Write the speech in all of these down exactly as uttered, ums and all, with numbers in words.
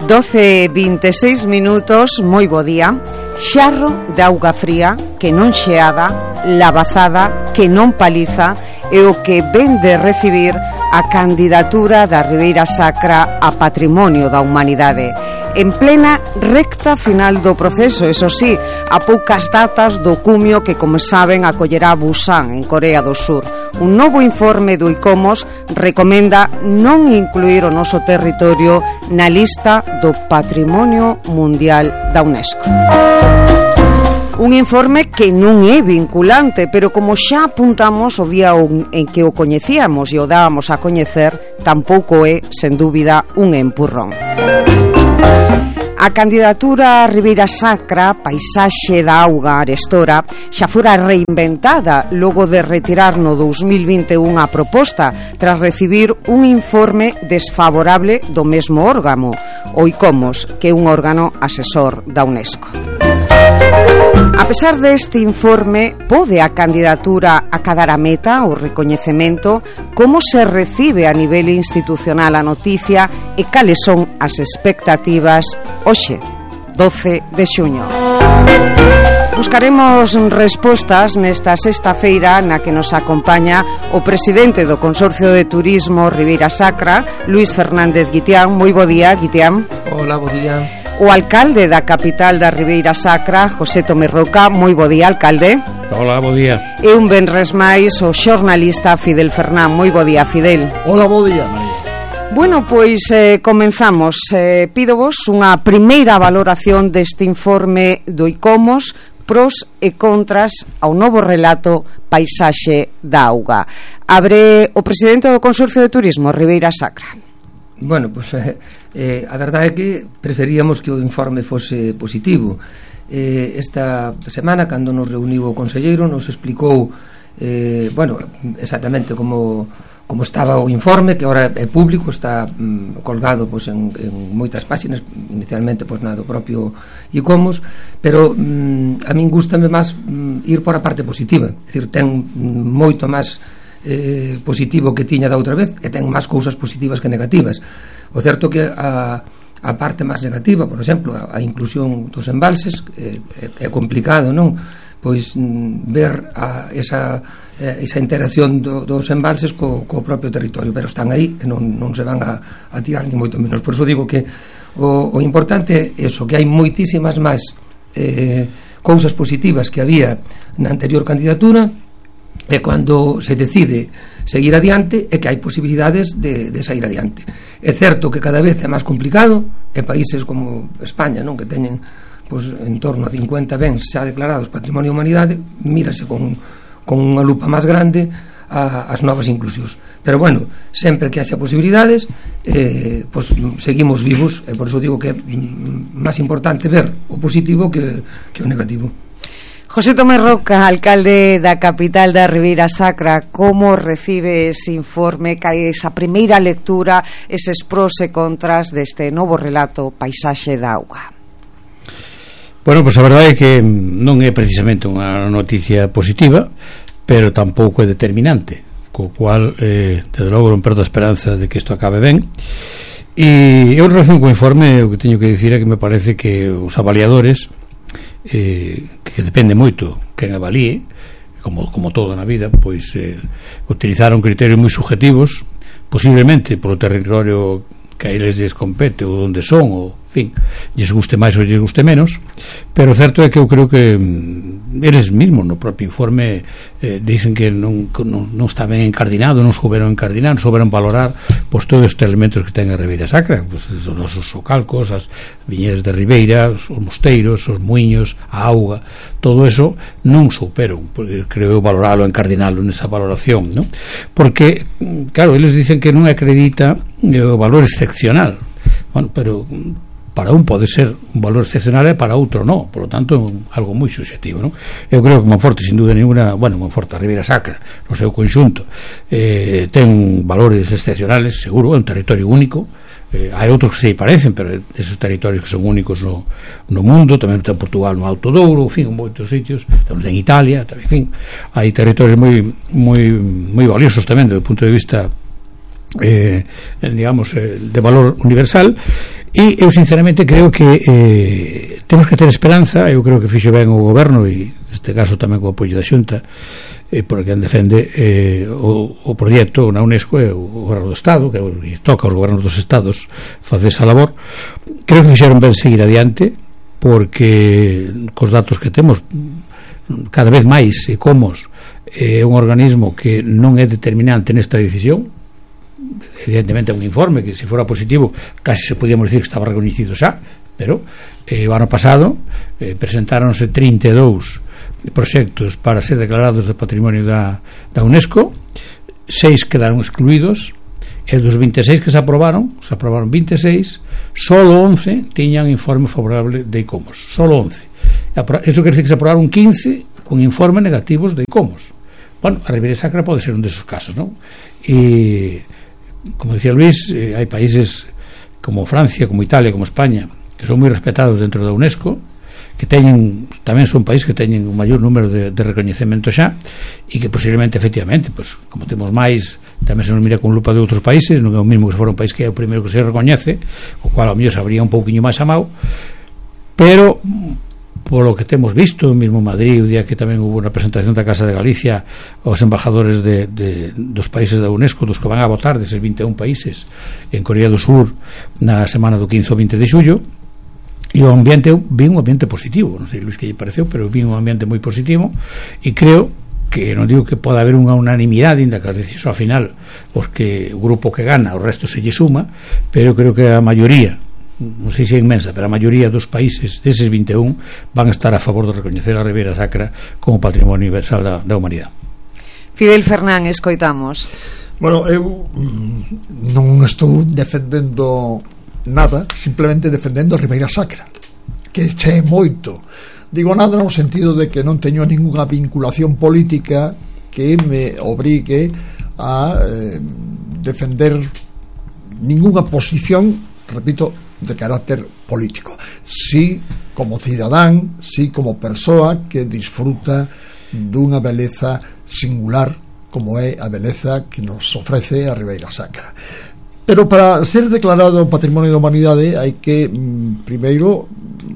doce e vinte e seis minutos, moi bo día. Xarro de auga fría que non xeada, lavazada que non paliza, é o que ven de recibir a candidatura da Ribeira Sacra a Patrimonio da Humanidade. En plena recta final do proceso, eso sí, a poucas datas do cumio que, como saben, acollerá Busan, en Corea do Sur. Un novo informe do ICOMOS recomenda non incluir o noso territorio na lista do Patrimonio Mundial da UNESCO. Un informe que non é vinculante, pero como xa apuntamos o día en que o coñecíamos e o dábamos a coñecer, tampouco é, sen dúbida, un empurrón. A candidatura Ribeira Sacra, Paisaxe da Auga Arestora, xa fora reinventada logo de retirar no dous mil vinte e un a proposta tras recibir un informe desfavorable do mesmo órgano, o ICOMOS, que é un órgano asesor da UNESCO. A pesar deste informe, pode a candidatura acadar a meta, o recoñecemento? Como se recibe a nivel institucional a noticia e cales son as expectativas hoxe, doce de xuño? Buscaremos respostas nesta sexta feira na que nos acompaña o presidente do Consorcio de Turismo Ribeira Sacra, Luís Fernández Guitián. Moi bo día, Guitián. Hola, bo día. O alcalde da capital da Ribeira Sacra, José Tomé Roca. Moi bo día, alcalde. Hola, bo día. E un venres máis o xornalista Fidel Fernán. Moi bo día, Fidel. Hola, bo día, María. Bueno, pois eh, comenzamos. Eh, pídovos unha primeira valoración deste informe do ICOMOS, pros e contras ao novo relato Paisaxe da Auga. Abre o presidente do Consorcio de Turismo Ribeira Sacra. Bueno, pois pues, eh, eh, a verdade é que preferíamos que o informe fose positivo. Eh, esta semana, cando nos reuniu o conselleiro, nos explicou eh, bueno, exactamente como, como estaba o informe, que agora é público, está mm, colgado pues, en, en moitas páxinas, inicialmente pues, na do propio ICOMOS, pero mm, a min gustame máis mm, ir por a parte positiva, é dicir, ten mm, moito máis eh, positivo que tiña da outra vez, e ten máis cousas positivas que negativas. O certo que a, a parte máis negativa, por exemplo, a, a inclusión dos embalses, eh, é, é complicado, non? Pois mm, ver a, esa, eh, esa interacción do, dos embalses co, co propio territorio, pero están aí e non, non se van a, a tirar ni moito menos. Por iso digo que o, o importante é eso, que hai moitísimas máis eh, cousas positivas que había na anterior candidatura, e cando se decide seguir adiante é que hai posibilidades de, de sair adiante. É certo que cada vez é máis complicado, e países como España, non, que teñen pues, en torno a cincuenta bens xa declarados Patrimonio da Humanidade, mírase con, con unha lupa máis grande a, as novas inclusións. Pero bueno, sempre que haxa posibilidades eh, pues, seguimos vivos, e por iso digo que é máis importante ver o positivo que, que o negativo. José Tomé Roca, alcalde da capital da Ribeira Sacra, como recibe ese informe, esa primeira lectura, eses pros e contras deste novo relato Paisaxe da Auga? Bueno, pois pues a verdade é que non é precisamente unha noticia positiva, pero tampouco é determinante, co cual, eh, desde logo non perdo a esperanza de que isto acabe ben. E en relación co informe, o que teño que dicir é que me parece que os avaliadores, eh, que depende moito quen avalíe, como, como todo na vida, pois eh, utilizaron criterios moi subjetivos, posiblemente polo territorio que a eles lles compete ou onde son, ou fin, lles guste máis ou lles guste menos, pero o certo é que eu creo que mm, eles mesmos no propio informe eh, dicen que non, non, non está ben encardinado, non souberon encardinar, non souberon valorar pois, todos estes elementos que ten a Ribeira Sacra, pois, os nosos socalcos, as viñedas de Ribeira, os mosteiros, os muiños, a auga, todo eso non souperon, porque creo valoralo, encardinalo nesa valoración, ¿no? Porque, claro, eles dicen que non acredita eh, o valor excepcional, bueno, pero para un pode ser un valor excepcional e para outro non, por lo tanto algo moi subjetivo, non? Eu creo que Monforte, sin dúda ninguna, bueno, Monforte, a Ribeira Sacra no seu conxunto eh, ten valores excepcionales, seguro, é un territorio único, eh, hai outros que se parecen, pero esos territorios que son únicos no, no mundo, tamén ten Portugal no Alto Douro, en fin, en moitos sitios, tamén en Italia, tamén, en fin, hai territorios moi moi moi valiosos tamén, desde o punto de vista eh, digamos, eh, de valor universal, e eu sinceramente creo que eh, temos que ter esperanza. Eu creo que fixo ben o goberno, e neste caso tamén co apoio da Xunta, eh, porque quen defende eh, o, o proxecto na UNESCO é o goberno do Estado, que toca aos gobernos dos Estados facer esa labor. Creo que fixeron ben seguir adiante, porque cos datos que temos cada vez máis e comos é un organismo que non é determinante nesta decisión. Evidentemente é un informe que, se fora positivo, casi se podíamos dicir que estaba reconhecido xa, pero eh, o ano pasado eh, presentáronse trinta e dous proxectos para ser declarados de patrimonio da, da UNESCO. Seis quedaron excluídos, e dos vinte e seis que se aprobaron, se aprobaron vinte e seis, solo once tiñan informe favorable de ICOMOS, solo once. Eso quer dizer que se aprobaron quince con informes negativos de ICOMOS. Bueno, a Ribeira Sacra pode ser un desos casos, non? E, como decía Luis, eh, hai países como Francia, como Italia, como España, que son moi respetados dentro da UNESCO, que teñen, tamén son países que teñen un maior número de, de recoñecemento xa, e que posiblemente, efectivamente, pues, como temos máis, tamén se nos mira con lupa de outros países, non é o mesmo que se fora un país que é o primeiro que se recoñece, o cual ao mellor sabría un pouquiño máis amado, pero polo que temos visto, mesmo Madrid, o día que tamén hubo unha presentación da Casa de Galicia aos embajadores de, de, dos países da UNESCO, dos que van a votar, deses vinte e un países en Corea do Sur na semana do quince ao vinte de xullo, e o ambiente, eu vi un ambiente positivo, non sei Luis que lle pareceu, pero vi un ambiente moi positivo, e creo que, non digo que pode haber unha unanimidade, ainda que as decisións ao final, os que o grupo que gana, o resto se lle suma, pero creo que a maioría, non sei se é inmensa, pero a maioría dos países deses vinte e un van a estar a favor de recoñecer a Ribeira Sacra como patrimonio universal da, da humanidade. Fidel Fernán, escoitamos. Bueno, eu non estou defendendo nada, simplemente defendendo a Ribeira Sacra, que che é moito. Digo nada no sentido de que non teño ninguna vinculación política que me obrigue a eh, defender ninguna posición, repito, de carácter político. Sí como cidadán, sí como persoa que disfruta dunha beleza singular como é a beleza que nos ofrece a Ribeira Sacra. Pero para ser declarado Patrimonio da Humanidade hai que mm, primeiro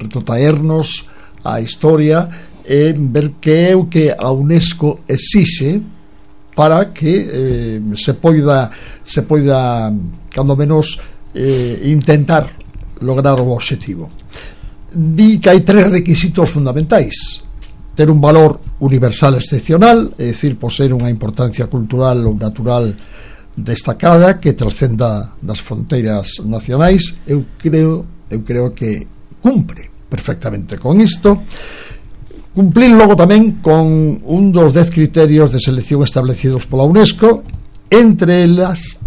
retrotraernos a historia e ver que é o que a UNESCO exixe para que eh, se poida se poida cando menos eh, intentar lograr o objetivo. Di que hai tres requisitos fundamentais: ter un valor universal excepcional, é dicir, poseer unha importancia cultural ou natural destacada que trascenda das fronteiras nacionais. Eu creo, eu creo que cumpre perfectamente con isto. Cumplir logo tamén con un dos dez criterios de selección establecidos pola UNESCO, entre elas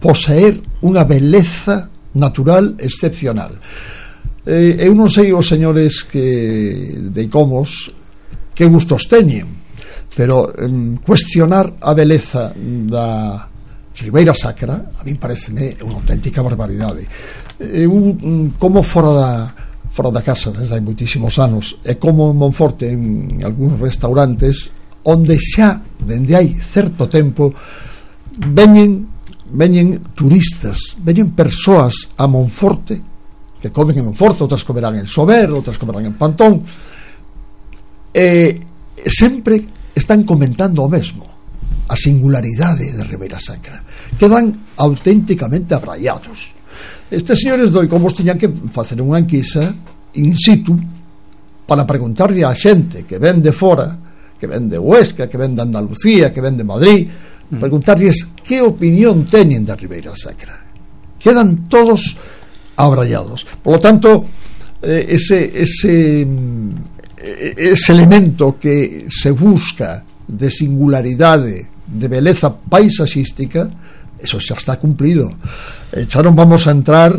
poseer unha beleza natural excepcional. Eh, eu non sei os señores que de ICOMOS que gustos teñen, pero eh, cuestionar a beleza da Ribeira Sacra a mí pareceme unha auténtica barbaridade. Eu, como fora da fora da casa desde hai moitísimos anos, e como en Monforte en algúns restaurantes onde xa dende hai certo tempo veñen veñen turistas, veñen persoas a Monforte que comen en Monforte, outras comerán en Sober, outras comerán en Pantón, e sempre están comentando o mesmo, a singularidade de Ribeira Sacra. Quedan auténticamente abraiados. Estes señores do ICOMOS tiñan que facer unha enquisa in situ para preguntarlle á xente que ven de fora, que ven de Huesca, que ven de Andalucía, que ven de Madrid, preguntarles que opinión teñen da Ribeira Sacra. Quedan todos abrallados. Por lo tanto, eh, ese, ese, ese elemento que se busca de singularidade, de beleza paisaxística, eso xa está cumplido. E xa non vamos a entrar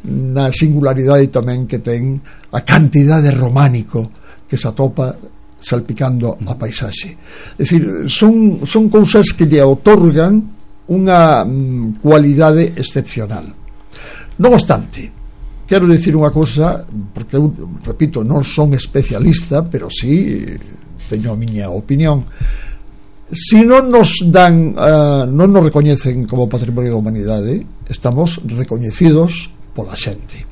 na singularidade tamén que ten a cantidade románico que se atopa salpicando a paisaxe. É dicir, son, son cousas que lle otorgan unha mm, cualidade excepcional. Non obstante, quero dicir unha cousa, porque eu, repito, non son especialista, pero sí teño a miña opinión. Si non nos dan uh, non nos recoñecen como Patrimonio da Humanidade, estamos recoñecidos pola xente.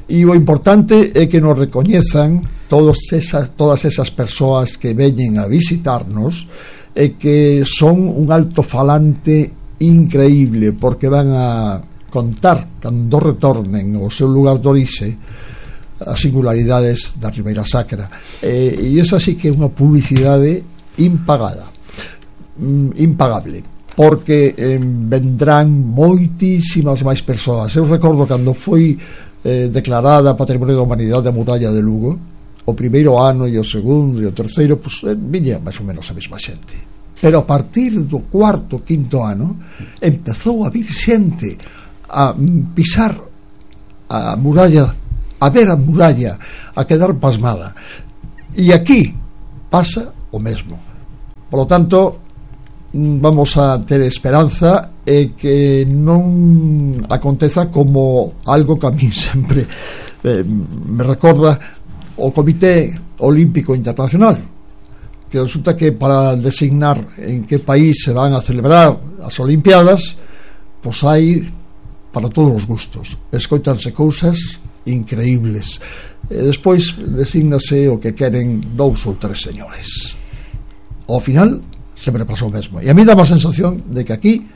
E o importante é que nos recoñezan todos esas, todas esas persoas que veñen a visitarnos e que son un altofalante increíble, porque van a contar, cando retornen ao seu lugar de orixe, as singularidades da Ribeira Sacra. E, e esa sí que é unha publicidade impagada, impagable, porque eh, vendrán moitísimas máis persoas. Eu recordo cando foi eh, declarada Patrimonio da Humanidade a muralla de Lugo, o primeiro ano e o segundo e o terceiro, pues, eh, viña máis ou menos a mesma xente, pero a partir do cuarto, quinto ano empezou a vir xente a pisar a muralla, a ver a muralla, a quedar pasmada. E aquí pasa o mesmo. Por lo tanto, vamos a ter esperanza e que non aconteza como algo que a mí sempre eh, me recorda o Comité Olímpico Internacional, que resulta que para designar en que país se van a celebrar as Olimpiadas, pois hai para todos os gustos, escoitanse cousas increíbles, e despois designase o que queren dous ou tres señores. Ao final sempre pasou o mesmo, e a mí dá a sensación de que aquí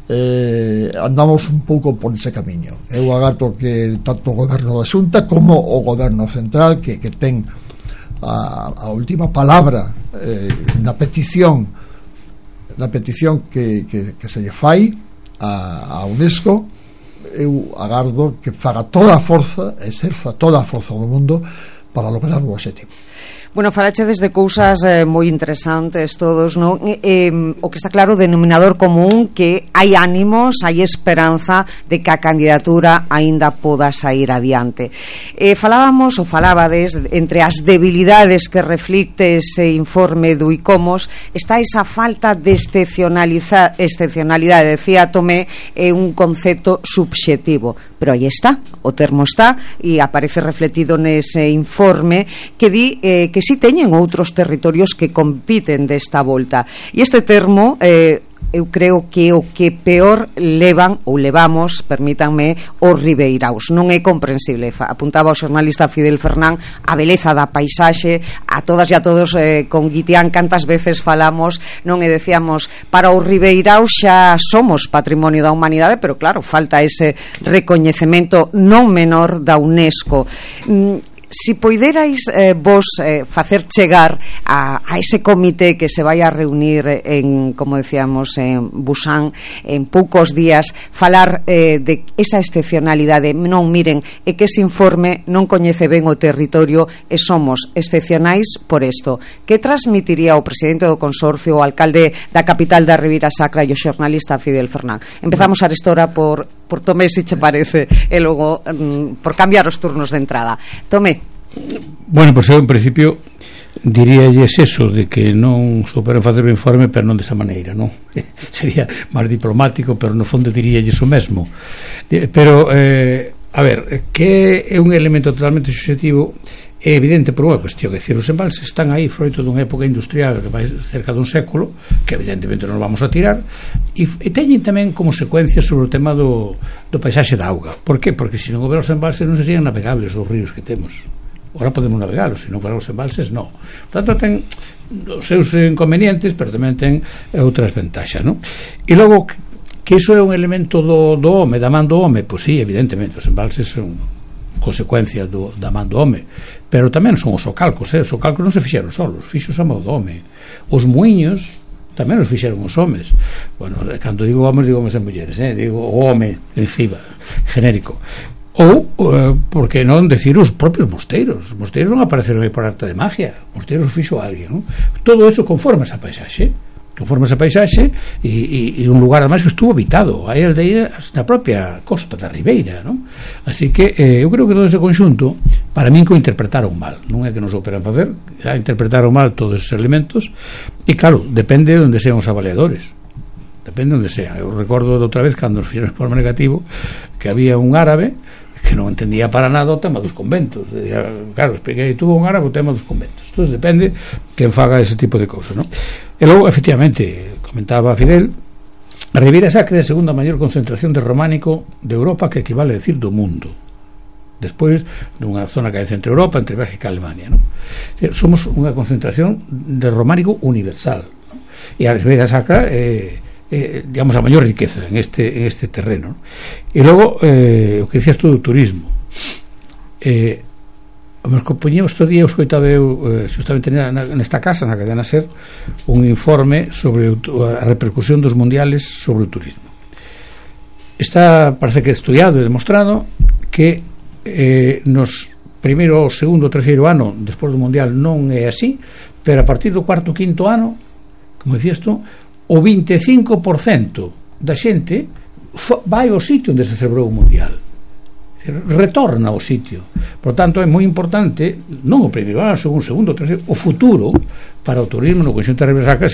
eh, andamos un pouco por ese camiño. Eu agarto que tanto o goberno da Xunta como o goberno central, que, que ten a, a última palabra eh, na petición na petición que, que, que se lle fai a, a UNESCO, eu agardo que faga toda a forza, exerza toda a forza do mundo para lograr o objetivo. Bueno, falachedes de cousas eh, moi interesantes todos, non? Eh, o que está claro, denominador común, que hai ánimos, hai esperanza de que a candidatura aínda poda sair adiante. Eh, falábamos, ou falabades, entre as debilidades que reflicte ese informe do ICOMOS, está esa falta de excepcionalidade. Decía Tomé, é eh, un concepto subxetivo, pero aí está, o termo está, e aparece refletido nese informe que di eh, que si teñen outros territorios que compiten desta volta, e este termo eh, eu creo que o que peor levan ou levamos, permítanme, os ribeiraos. Non é comprensible. Apuntaba o xornalista Fidel Fernán a beleza da paisaxe, a todas e a todos eh, con Guitián cantas veces falamos, non, e decíamos, para os ribeiraos xa somos Patrimonio da Humanidade, pero claro, falta ese recoñecemento non menor da UNESCO. Mm, Si poiderais eh, vos eh, facer chegar a, a ese comité que se vai a reunir en, como decíamos, en Busan en poucos días, falar eh, de esa excepcionalidade. Non, miren, é que ese informe non coñece ben o territorio e somos excepcionais por isto. Que transmitiría o presidente do consorcio, o alcalde da capital da Ribeira Sacra e o xornalista Fidel Fernán? Empezamos a restora por, por Tomé, se che parece, e logo mm, por cambiar os turnos de entrada. Tomé. Bueno, pois eu en principio diríalles eso, de que non souperan facer o informe, pero non desa maneira, non? Sería máis diplomático, pero no fondo diríalles o mesmo. Pero eh, a ver, que é un elemento totalmente subjetivo, é evidente por unha cuestión, é dicir, os embalses están aí froito dunha época industrial que vai cerca dun século, que evidentemente non vamos a tirar, e, e teñen tamén como secuencia sobre o tema do, do paisaxe da auga. Por que? Porque se non houber os embalses non serían navegables os ríos que temos. Ahora podemos navegalos, se non para os embalses non. Por tanto, ten os seus inconvenientes, pero tamén ten outras ventaxas, non? E logo, que iso é un elemento do, do home, da man do home, pois sí, evidentemente, os embalses son consecuencias do, da man do home, pero tamén son os socalcos, eh? Os socalcos non se fixeron solos, fixos a man do home. Os muiños tamén os fixeron os homes. Bueno, cando digo homes, digo homes e mulleres, eh? Digo o home encima, genérico. Ou, eh, porque non decir os propios mosteiros. Os mosteiros non apareceron aí por arte de magia, os mosteiros fixo alguén, non? Todo eso conforme esa paisaxe, conforme esa paisaxe, e, e, e un lugar además que estuvo habitado, hai aldeias na propia costa da Ribeira, non? Así que eh, eu creo que todo ese conxunto, para min, que o interpretaron mal, non é que non souperan facer, já interpretaron mal todos esos elementos, e claro, depende de onde sean os avaliadores, depende de onde sean. Eu recordo de outra vez, cando nos fixeron o informe negativo, que había un árabe que non entendía para nada o tema dos conventos. Claro, expliquei, tuvo un árabe o tema dos conventos. Entón depende quen faga ese tipo de cousas, non? E logo, efectivamente, comentaba Fidel, A Ribeira Sacra é a segunda maior concentración de románico de Europa, que equivale a decir do mundo, despois dunha zona que hai centro Europa, entre Bélgica e Alemania, non? Somos unha concentración de románico universal, non? E a Ribeira Sacra é, é, digamos, a maior riqueza en este, en este terreno, non? E logo, eh, o que dicías tú do turismo, eh, nos compoñemos todo día, escoitaba eu, eh, justamente nesta casa, na cadena SER, un informe sobre a repercusión dos mundiales sobre o turismo. Está, parece que estudiado e demostrado que eh, nos primeiro, segundo, terceiro ano despois do mundial non é así, pero a partir do cuarto, quinto ano, como dicías tú, o vinte e cinco por cento da xente vai ao sitio onde se celebrou o mundial, retorna ao sitio. Por tanto, é moi importante non o primeiro ano, segundo, segundo, terceiro, o futuro para o turismo no conxunto da Ribeira Sacra